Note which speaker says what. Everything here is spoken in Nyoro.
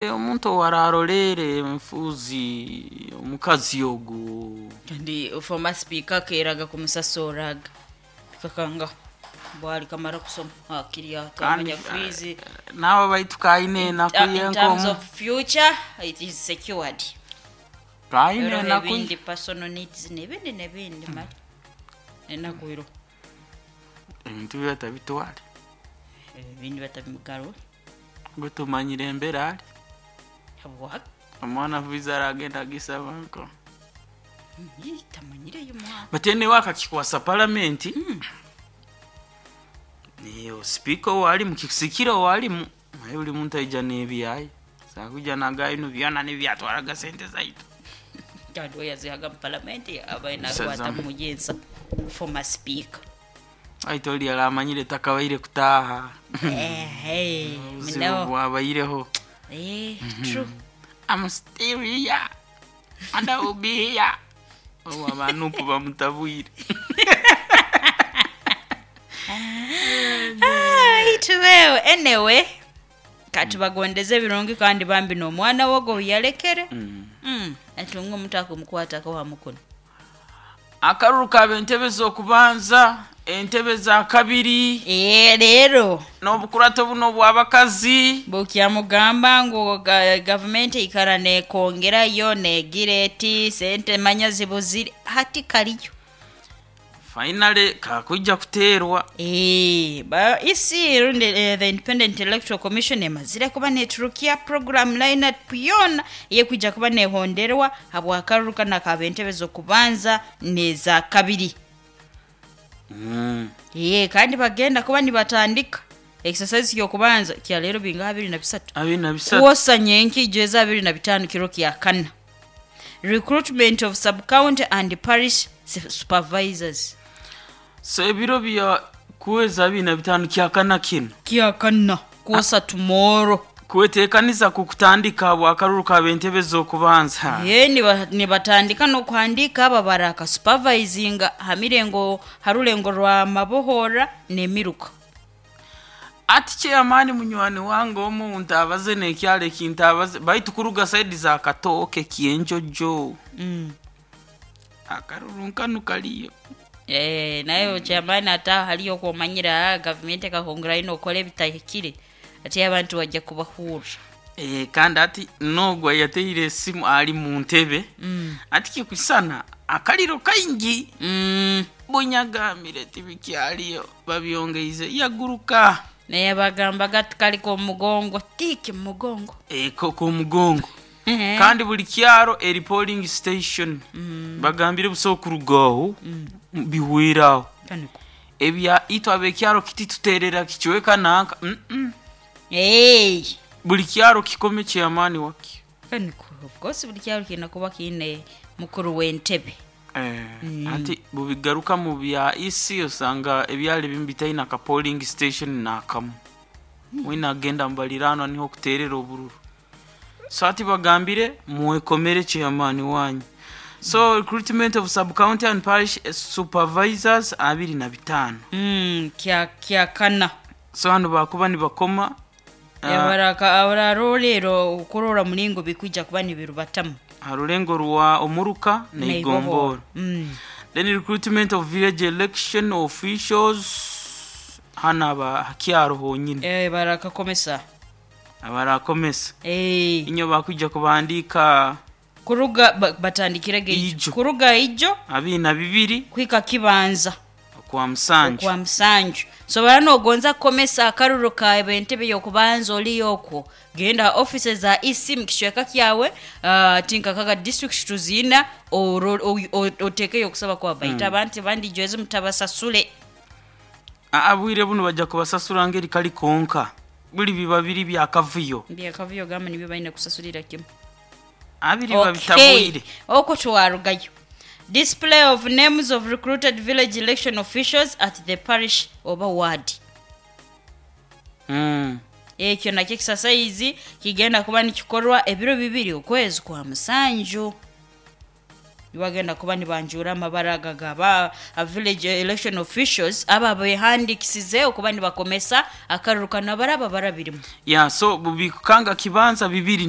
Speaker 1: Omuntu owararoleere enfuuzi omukazi ogu.
Speaker 2: Kandi former speaker akeeraga kumusasoraga bikakanga bwali kamara kusoma hakiri
Speaker 1: Kandi
Speaker 2: twamanya fees
Speaker 1: nawe baitu kaine enaku
Speaker 2: in terms
Speaker 1: yenkomu
Speaker 2: of future it is secured.
Speaker 1: Kaine
Speaker 2: Hariho
Speaker 1: enaku.
Speaker 2: ebindi personal needs nebindi nebindi mali enaku ero.
Speaker 1: Ebintu bye batabitware.
Speaker 2: Ebindi batabimugarura.
Speaker 1: Gwe tumanyire embeera ali.
Speaker 2: Habwaki?
Speaker 1: Omwana visa aragenda agisaba nko.
Speaker 2: Tamanyireyo mwana.
Speaker 1: But anyway akakikwasa palamenti. Niyo speaker owalimu kikusikira owalimu naye buli muntu aija n'ebyaye sakuja nagaye bino byona nibyatwaraga sente zaitu.
Speaker 2: Kandi we yazihaga mu palamenti abaye nakwata
Speaker 1: Sazamu.
Speaker 2: mugenza former speaker.
Speaker 1: Aitu oli aramanyire takabaire kutaaha.
Speaker 2: Ehe,
Speaker 1: Obuzibu
Speaker 2: no.
Speaker 1: bwabaireho.
Speaker 2: True.
Speaker 1: I'm still here and I will be here. Obu abanupu bamutabwire.
Speaker 2: Tubeewo anyway katubagondeze ebirungi kandi bambi n'omwana wogo yalekere. Atunga omuntu akumukwatako hamukono.
Speaker 1: Akaruru kaba entebe z'okubanza, entebe za kabiri,
Speaker 2: Leero
Speaker 1: n'obukurato buno obw'abakazi.
Speaker 2: Bukyamugamba ngu gavumenti eikara nekongerayo negira eti sente manya zibuzire hati kaliyo.
Speaker 1: Finally kakwijja kuteerwa.
Speaker 2: Ba EC rundi the Independent Electoral Commission emazire kuba neturukia program lineup yona eyekwijja kuba nehonderwa habwakaruru kana kaba entebe z'okubanza neza kabiri. Kandi bagenda kuba nibatandika exercise y'okubanza kya leero binga 23.
Speaker 1: 23.
Speaker 2: Kwosa nyenki ijeza 25 kiro kya kana. Recruitment of sub-county and parish supervisors.
Speaker 1: So ebiro bya kuweza 25 kya kana kino.
Speaker 2: Kya kana kwosa tomorrow.
Speaker 1: Kweteekaniza ku kutandika bwakaruru kaba entebe z'okubanza.
Speaker 2: Nibatandika n'okuhandiika aba baraka supervisinga hamirengo harulengo rwa mabohora n'emiruka.
Speaker 1: Ati chairman munywani wange omu ntabaze n'ekyalo ekintabaze baitu kuruga saidi za Katooke Kyenjojo. Akaruru nkanu kaliyo.
Speaker 2: Naye chairman ata haliyo okwomanyira gavumenti ekahongera ino okora ebitahikire ati abantu bajja kubahurra.
Speaker 1: Kandi ati nogwa yateire esimu ali mu ntebe. Ati kikusana akaliro kaingi. Bunyagamire tibikyaliyo babyongeize yaguruka.
Speaker 2: Naye bagambaga ati kaliko omugongo tiki mugongo.
Speaker 1: Ko mugongo. Kandi buli kyaro eri polling station. Bagambire buso kurugaho bihweraho.
Speaker 2: Kaniko.
Speaker 1: Ebya itwe abekyaro kiti tuterera kichweka nanka.
Speaker 2: Hey.
Speaker 1: Buli kyaro kikome chairman waki.
Speaker 2: Kaniko. Of course buli kyaro kirina kuba kiine mukuru w'entebe.
Speaker 1: Ati bubigaruka mu bya EC osanga ebyalo ebimu bitaina ka polling station nakamu. Wina agenda mbalirano niho kuterera obururu. So ati bagambire mwekomere chairman wanyu. So recruitment of sub-county and parish supervisors 25.
Speaker 2: Kya kana.
Speaker 1: So hano bakuba nibakoma.
Speaker 2: Abaraka abararolero okurora mulingo bikwija kuba nibirubatamu.
Speaker 1: Harulengo rwa omuruka na igomboro. Then recruitment of village election officials hano aba hakyaro honyine.
Speaker 2: Barakakomesa.
Speaker 1: Abarakomesa. Inyo bakwijja kubandika
Speaker 2: Kuruga batandikirege
Speaker 1: Ijo.
Speaker 2: Kuruga ijo
Speaker 1: 22
Speaker 2: kwika kibanza.
Speaker 1: Kwa musanju.
Speaker 2: Kwa musanju. So barano ogonza komesa akaruru ka entebe y'okubanza oli okwo. Genda offices za EC mu kishweka kyawe, tinka kaka district tuzina otekeyo okusaba kwa baita abantu bandi jweze mutabasasule.
Speaker 1: Abwire buno bajja kubasasula ngeri kali konka. Buli biba biri bya kavuyo.
Speaker 2: Bya kavuyo gamba nibyo balina kusasulira kimu.
Speaker 1: Abiri babitabwire.
Speaker 2: Okwo twarugayo. Display of names of recruited village election officials at the parish oba ward. Ekyo nakyo exercise kigenda kuba nikikorwa ebiro 2 okwezi kwa musanju. Nibagenda kuba nibanjura amabara aga gaba village election officials aba behandikisize okuba nibakomesa akaruru kano baraba barabirimu.
Speaker 1: Ya, so bubikukanga kibanza bibiri.